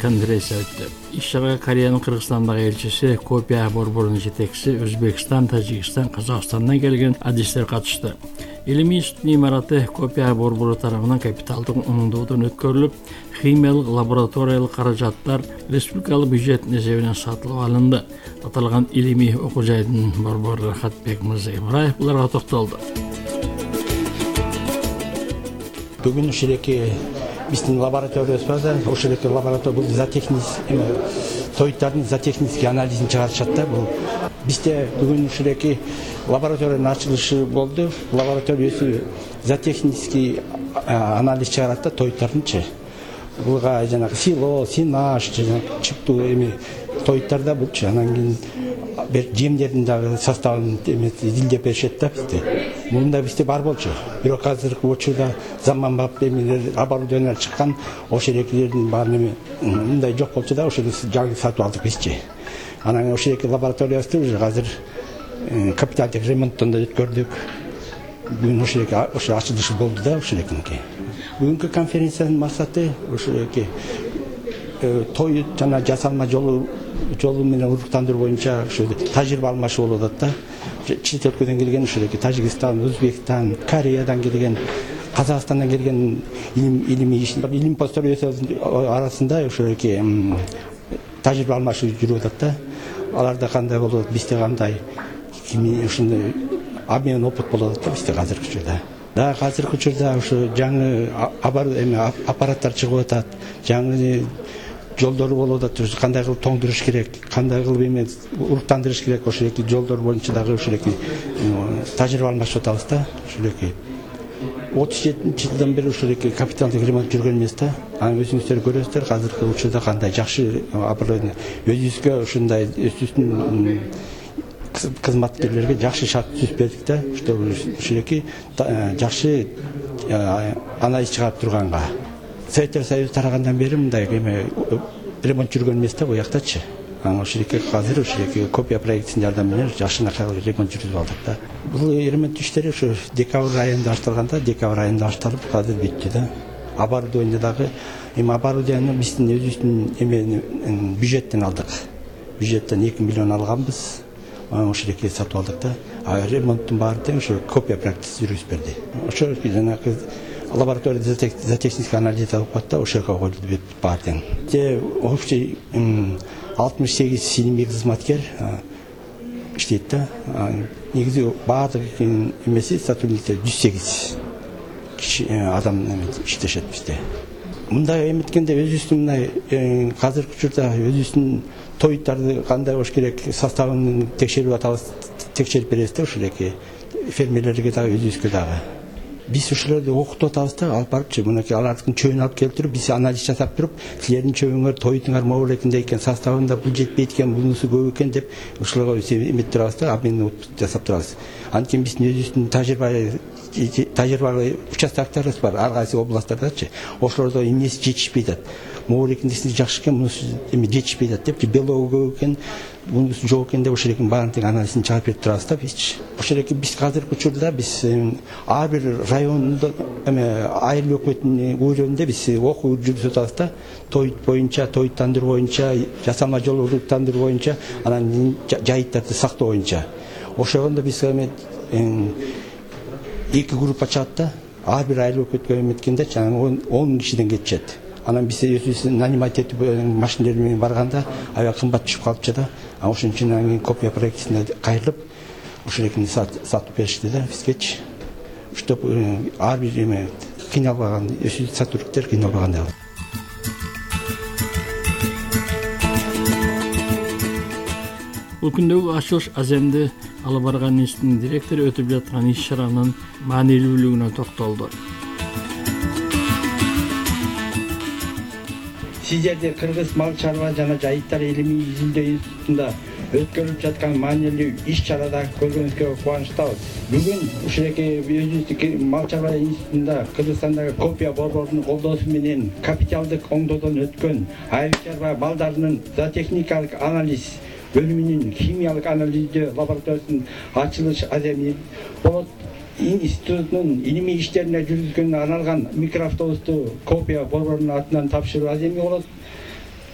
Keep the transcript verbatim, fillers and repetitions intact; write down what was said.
конференция өттү. Иш-чарага Кореянын Кыргызстандагы элчиси, Копия борборунун жетекчиси, Өзбекстан, Тажикстан, Казакстандан келген адистер катышты. Илимий институттун имараты Копия борбору тарабынан капиталдык оңдоодон өткөрүлүп, химиялык лабораториялык каражаттар республикалык бюджеттин эсебинен сатылып алынды. Аталган илимий окуу жайдын борбору Рахатбек Мырзаибраев буларга токтолду. Бүгүн ушеки биздин лабораториябыз бар да, ушеки лаборатория бул зоотехник тоюттардын зоотехнический анализин чыгарышат да. Бул бизде бүгүн ушеки лабораториянын ачылышы болду. Лабораториясы зоотехнический анализ чыгарат да тоюттардынчы. Буга жанагы сило, синаш, жанагы чыптуу эми тоюттарда булчу. Анан кийин жемдердин дагы составын изилдеп беришет да бизде. Мында бизде бар болчу. Бирок азыркы учурда заманбап эмелер оборудование чыккан, ошерекилердин баарын мындай жок болчу да, ошол жаңы сатып алдык бизчи. Анан ошеки лабораториясы уже азыр капиталдык ремонттон да өткөрдүк. Бүгүн ошеки ошо ачылышы болду да ошекинки. Бүгүнкү конференциянын максаты ошеки той жана жасалма жолу жолу менен уруктандыруу боюнча ошо тажрыйба алмашуу болуп атат да. Чет өлкөдөн келген ошеки Тажикстан, Өзбекстан, Кореядан келген, Казакстандан келген илимий илим посториясынын арасында ошеки тажрыйба алмашуу жүрүп атат да. Аларда кандай болот, бизде кандай, кими ушундай обмен опыт болуп атат да бизде азыркы учурда. Да, азыркы учурда ошо жаңы аппараттар чыгып атат, жаңы жолдору болуп атат, кандай кылып тоңдуруш керек, кандай кылып эме уруктандырыш керек, ошеки жолдор боюнча дагы ошеки тажрыйба алмашып атабыз да. Ошеки отуз жетинчи жылдан бери ошеки капиталдык ремонт жүргөн эмес да. Анан өзүңүздөр көрөсүздөр, азыркы учурда кандай жакшы оборудование, өзүбүзгө ушундай өзүбүздүн кызматкерлерге жакшы шарт түзүп бердик да, чтобы ушеки жакшы анализ чыгарып турганга. Советтер Союзу тарагандан бери мындай эме ремонт жүргөн эмес да буяктачы. Анан ошеки азыр ошеки Копия проектинин жардамы менен жакшынакай ремонт жүргүзүп алдык да. Бул ремонт иштери ошо декабрь айында башталган да, декабрь айында башталып азыр бүттү да. Оборудование дагы эми оборудование биздин өзүбүздүн эме бюджеттен алдык. Бюджеттен эки миллион алганбыз. Ошеки сатып алдык да. А ремонттун баары тең ошо Копия проектиси жүргүзүп берди. Ошо жанагы лабораторияда зоотехнический анализ алып калды, ошого коюлду баары тең. Же общий алтымыш сегиз илимий кызматкер иштейт да. Негизи баардык эмеси сотрудниктер жүз сегиз киши адам иштешет бизде. Мындай эметкенде өзүбүздүн мындай азыркы учурда өзүбүздүн тоюттарды кандай болуш керек составын текшерип атабыз, текшерип беребиз да ошеки фермерлерге дагы өзүбүзгө дагы. Биз ушуларды окутуп атабыз да, алып барыпчы, мынакей алардын чөбүн алып келип туруп, биз анализ жасап туруп, силердин чөбүңөр, тоютуңар могу эле экен, составында бул жетпейт экен, бунусу көп экен деп ушуларга эметип турабыз да, обмен жасап турабыз. Анткени биздин өзүбүздүн тажрыйба тажрыйбалуу участоктарыбыз бар, ар кайсы областтардачы. Ошолордо эмнеси жетишпей атат. Могу экинчиси жакшы экен, мунусу эми жетишпей атат деп, белогу көп экен, бунусу жок экен деп ошолекин баарын тең анализин чыгарып берип турабыз да биз. Ошолеки биз азыркы учурда биз ар бир райондо эме айыл өкмөтүнүн уюрунда биз окуу жүргүзүп атабыз да. Тоют боюнча, тоюттандыруу боюнча, жасалма жол уруктандыруу боюнча, анан жайыттарды сактоо боюнча. Ошондо биз эме эки группа чыгат да. Ар бир айыл өкмөткө эметкенде он кишиден кетишет. Анан биз өзүбүз нанимать этип машинелер менен барганда аябай кымбат түшүп калыпчы да. Ошон үчүн анан Копия проектисине кайрылып ошолекини сатып беришти да бизгечи. Чтоб ар бир эме кыйналбаган, өзү сотрудниктер кыйналбаган. Бул күндөгү ачылыш аземди алып барган институттун директору өтүп жаткан иш-чаранын маанилүүлүгүнө токтолду. Сиздерди Кыргыз мал чарба жана жайыттар илимий изилдөө институтунда өткөрүлүп жаткан маанилүү иш-чарада көргөнүзгө кубанычтабыз. Бүгүн ушеки өзүбүздүн мал чарба институтунда Кыргызстандагы Копия борборунун колдоосу менен капиталдык оңдоодон өткөн айыл чарба балдарынын зоотехникалык анализ бөлүмүнүн химиялык анализдөө лабораториясынын ачылыш аземи болот. Институттун илимий иштерине жүргүзгөнгө арналган микроавтобусту Копия борборунун атынан тапшыруу аземи болот.